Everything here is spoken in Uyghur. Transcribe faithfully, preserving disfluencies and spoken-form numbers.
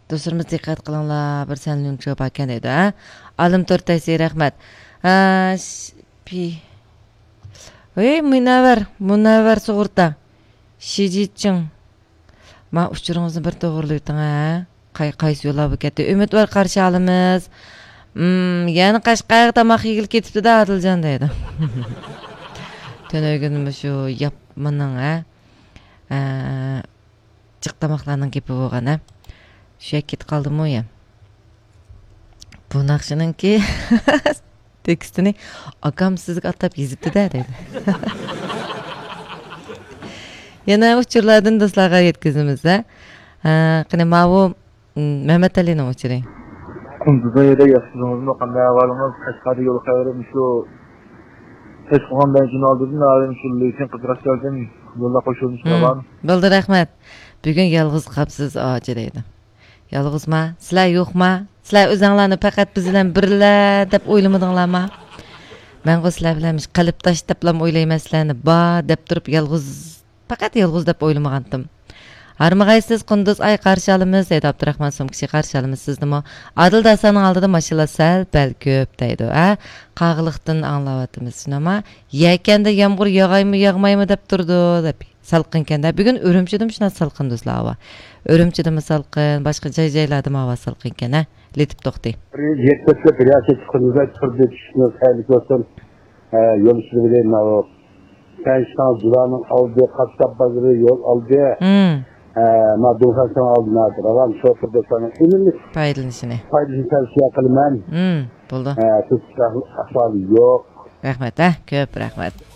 دوستلىرىمىز دىققەت قىلىڭلار، بىر سەنلۈن چوپاكەن دەيدۇ، ھە؟ ئالىم تور تەيسى، رەھمەت. ھە، ش-، پى-، ھەي، مۇنەۋۋەر، مۇنەۋۋەر سۇغۇرتا. شىجىچىڭ. ما ئۇچۇرىڭىزنى بىر توغرىلىۋېتىڭ، ھە؟ قاي-، قايسى يوللار بولۇپ كەتتى؟ ئۈمىدۋار قارشى ئالىمىز. مم، يەنە قەشقەرگە تاماق يېگىلى كېتىپتۇ-دە، ئادىلجان دەيدۇ. تۈنۈگۈن مۇشۇ ياپمىنىڭ، ھە؟ ئە، جىق تاماقلارنىڭ گېپى بولغان، ھە؟ شۇ يەرگە كېتىپ قالدىمۇ يا؟ بۇ ناخشىنىڭكى تېكىستىنى ئاكام سىزگە ئاتاپ يېزىپتۇ-دە، دەيدۇ. يەنە ئۇچۇرلاردىن دوستلارغا يەتكۈزىمىز، ھە؟ ھە، قېنى، ماۋۇ، م، مەمەتئەلىنىڭ ئۇچۇرى. قۇندۇزنىڭ يېرى ياخشىسىڭىزمۇ؟ قانداق ئەھۋالىڭىز؟ قەشقەردە يول خەۋىرىم شۇ. ھېس قىلغان بەنزىن ئالدىدىن ھازىر شۇ لېيسىن قىزىراش كەلدىم. يولدا قوشۇلمىش ھىم، بولدى، رەھمەت. بۈگۈن يالغۇز قاپسىز، ئاچا دەيدۇ. يالغۇزما؟ سىلەر يوقما؟ سىلەر ئۆزەڭلارنى پەقەت بىز بىلەن بىرلا دەپ ئويلىمىدىڭلارما؟ مەنغۇ سىلەر بىلەن مۇشۇ قەلبداش دەپلا ئويلايمەن سىلەرنى. بار دەپ تۇرۇپ يالغۇز، پەقەت يالغۇز دەپ ئويلىمىغانتىم. ھارمىغايسىز قۇندۇز ئاي، قارشى ئالىمىز دەيدۇ ئابدۇراخمان سومكىچى، قارشى ئالىمىز سىزنىمۇ. ئادىل داستاننىڭ ئالدىدا ماشىنىلار سەل پەل كۆپ دەيدۇ. ھە، قاغىلىقتىن ئاڭلاۋاتىمىز. شۇنداقما؟ يەكەندە يامغۇر ياغايمۇ ياغمايمۇ دەپ تۇرىدۇ دەپ. سالقىنكەن-دە. بۈگۈن ئۈرۈمچىدىمۇ شۇنداق سالقىن دوستلار، ھاۋا. ئۈرۈمچىدىمۇ سالقىن، باشقا جاي-جايلاردىمۇ ھاۋا سالقىنكەن، ھە؟ لېتىپ توختى. بىر يەتتە كۈندە بىر ياققا چىققىنىمىزدا تۇردى، چۈشتىمىز خەيرلىك بولسۇن. ھە، يول ئۈستىدە بىلەن ماۋۇ پەنجشىنىڭ جۇلانىڭ ئالدى، قاسساپ بازىرى يول ئالدى. ھىم. ھە، ما دۇڭخەنسىنىڭ ئالدى، ما راۋان شوپۇر دوستلارنىڭ ئۈنۈملۈك پايدىلىنىشىنى. پايدىلىنىشىنى تەۋسىيە قىلىمەن. ھىم، بولدى. ھە، تۇتۇش ئەھۋالى يوق. رەھمەت، ھە، كۆپ رەھمەت.